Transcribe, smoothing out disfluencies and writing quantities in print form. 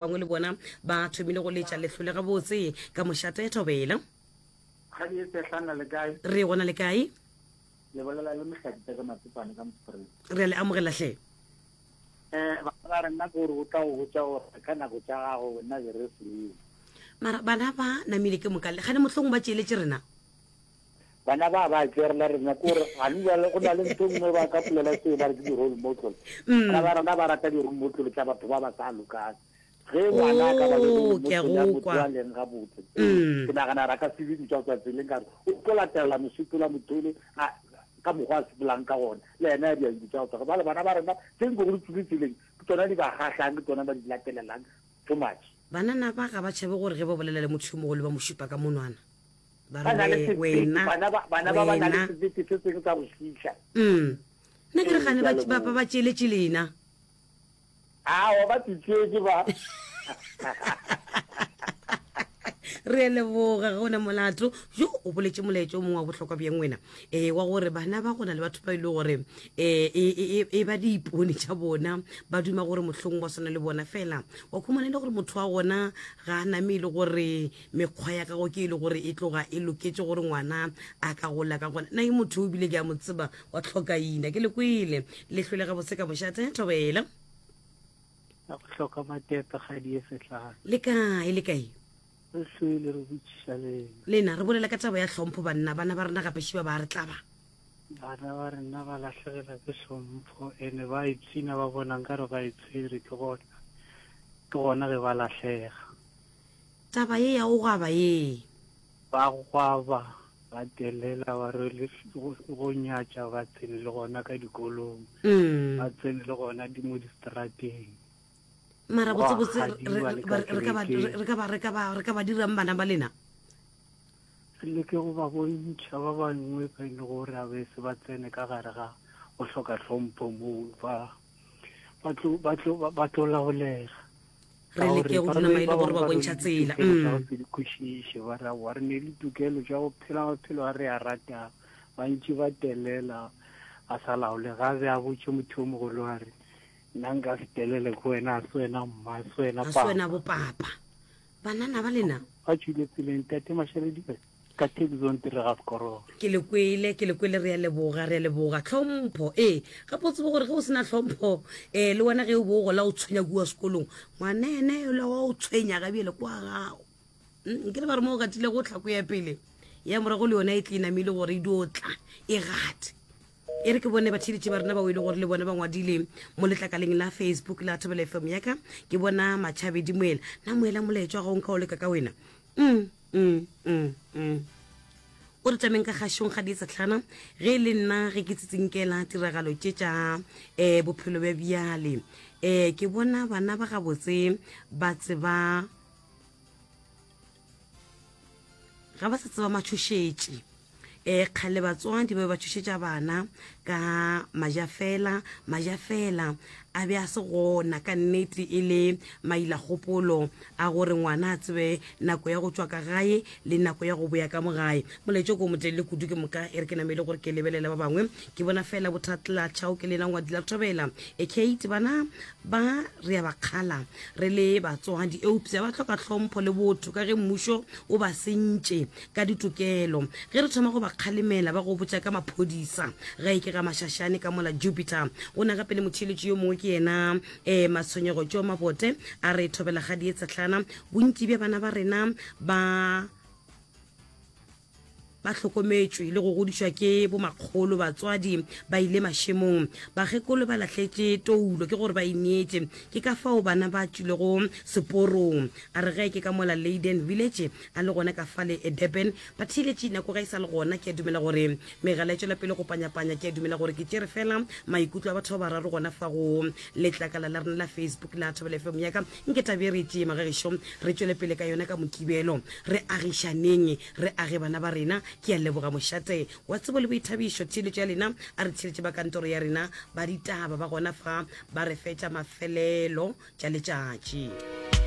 Bangwe le bona ba thomile go letša lehlole gabotse ka mošate Thobela. Kgadi e sehlana le kae? Re gona le kae? Le bolela le Mohlakita ka Matsepane ka Mospreng. Re a le amogela hle. Eh, bana ba rena ke gore o tla go botša gore ka nako tša gago wena be re seo. Mara bana ba namile ke moka le gane mohlong ba tšeeletše rena. Bana ba ba tšerela rena ke gore gane jale go na le ntho e nngwe ba ka polela seo ba re ke di-role model. Bana ba rena ba rata di-role model tša batho ba ba sa lokang. Ge ngwana a ka ba le role Oh, ke a model ya go motho kwa. a leng gabotse, ke nagana gore a ka se be bitša go tswa tseleng ka gore o tlo latelela mosepelo wa motho ole a ka mokgwa a sepelang ka gona, le yena a dia dilo tša go tswa. Jwale bana ba rena tse nko go di tswile tseleng ke tsona di ba kgahlang, ke tsona ba di latelelang too much. Banana ba ga ba tšhabe gore ge ba bolela le motho yo mogolo ba mo šupa ka monwana. Ba Ba na re le we, sebete, wena, bana ba, bana ba ba na le wena. sebete se sengwe sa go šiiša. Mm. Nna ke re Ee, gane ke a ba, ba, ba leboga. ba tšeeletše lena. Aowa, ba tšetšetše ba. Re a leboga, ga o na molato. Jo, o boletše molaetša o mongwe wa bohlokwa bjang wena, e, wa gore bana ba go na le batho ba e le gore e, e, e, e ba diipone tša bona, ba duma gore mohlong ba swana le bona fela. Wa khumana e le gore motho wa gona ga a name e le gore mekgwa ya gago ke e le gore e tloga e loketše gore ngwana a ka gola ka gona. Nna ke motho o bile ke a mo tseba wa tlhokaina, ke le kwele le hlwele gabotse ka mošate thobela. Ya go hloka matepe kgadi e sehlare. Le kae, le kae? Re hlwele re botšiša lena. Lena, re bolela ka taba ya hlompho banna, bana ba rena gape šiba ba re tlaba. Bana ba rena ba lahlegela ke hlompho ene ba ipshina ba bona nkare ba itshwere ke gona ke gona ge ba lahlega. Taba ye ya go gwaba ye. Ba gwaba ba telela ba rwele go nyatša ba tsene le gona ka dikolong, ba tsene le gona di mo distrateng. Mara Gwa botse botse re gadiwa le ka re ka ba kerekeng. re ka ba re ka ba re ka ba dirang bana ba lena? Re leke go ba bontšha ba bangwe ba e le gore a be se ba tsene ka gare ga go hloka hlompho moo ba ba tlo ba tlo ba tlo laolega. Re leke go dula maele gore ba bontšha tsela. Tokelo tša go se di kwešiše, ba re aowa re ne le tokelo tša go phela maphelo a re a ratang. Bantši ba telela a sa laole, ga a be a botše motho yo mogolo a re nna nka se telele ke wena, a se wena mma, a se wena A se wena papa. bopapa. Banana ba lena. Ba tšwile tseleng, Tate Mašaledi Ka Taxon tire ga sekororo. Ke le kwele, ke le kwele, re a leboga, re a leboga. Tlhompho, ee, gape o tsebe gore ge o se na tlhompho, um le wena ge o bo o gola o tshwenya kua sekolong, ngwana ene yola wa o tshwenya ga bjale kwa gago. Mm, nke le ba re mo o gatilego tlhako ya pele, ya morago le yona e tle e namile gore e dio tla, e gate. E re ke bone batheeletši ba rena bao e le gore le bona ba ngwadile mo letlakaleng la Facebook la Thobela FM ya ka, ke bona Matšhabedi Moela. Na Moela molaetša wa gago nka o leka ka wena? Mm, mm, mm, mm. O re tlameng ka kgašong ga dietsetlhana ge e le nna ge ke tsitsinkela tiragalo tše tša um bophelo bja bjale um ke bona bana ba gabotse ba tseba ga ba sa tseba matšhošetši E, kgale batswadi ba be ba tšhošetša bana ka majafela, majafela a be a se gona ka nnete e le mailakgopolo a gore ngwana a tsebe nako ya go tšwa ka gae le nako ya go boya ka mo gae. Molaetša ko motelele kudu ke moka e re ke namele gore ke lebelela ba bangwe ke bona fela bothatla tšhao ke lena ngwadi la thobela. E Kate bana ba re a ba kgala re le batswadi eupša ba hloka hlompho le botho ka ge mmušo o ba sentše ka ditokelo. Ge re thoma go ba kgalemela, ba go botša ka maphodisa. Gae ke ga Mašašane ka mola Jupiter. Go na gape le motheeletši yo mongwe ke yena um Matshwenyego Tšo Mabote a re thobela ga dietsehlana. Bontši bja bana ba rena ba ba hlokometšwe le go godišwa ke bomakgolo batswadi ba ile mašemong bakgekolo ba lahletše toulo ke gore ba ineetše ke ka fao bana ba tšwilego seporong a re ge ke ka mola Leyden Village a le gona ka fale Durban. Batheeletši, nako ga e sa le gona. Ke a dumela gore megala e tšwela pele go panyapanya. Ke a dumela gore ke tšere fela maikutlo a batho ba bararo gona fa go letlakala la rena la Facebook la Thobela FM ya ka. Nke tabe e re e tšee magagešo, re tšwele pele ka yona ka Mokibelo. Re agišaneng, re age bana ba rena. Ke a leboga mošate wa tsebo le boithabišo. Theeletšo ya lena a re theeletše ba kantoro ya rena ba ditaba ba gona fa ba re fetša mafelelo tša letšatši.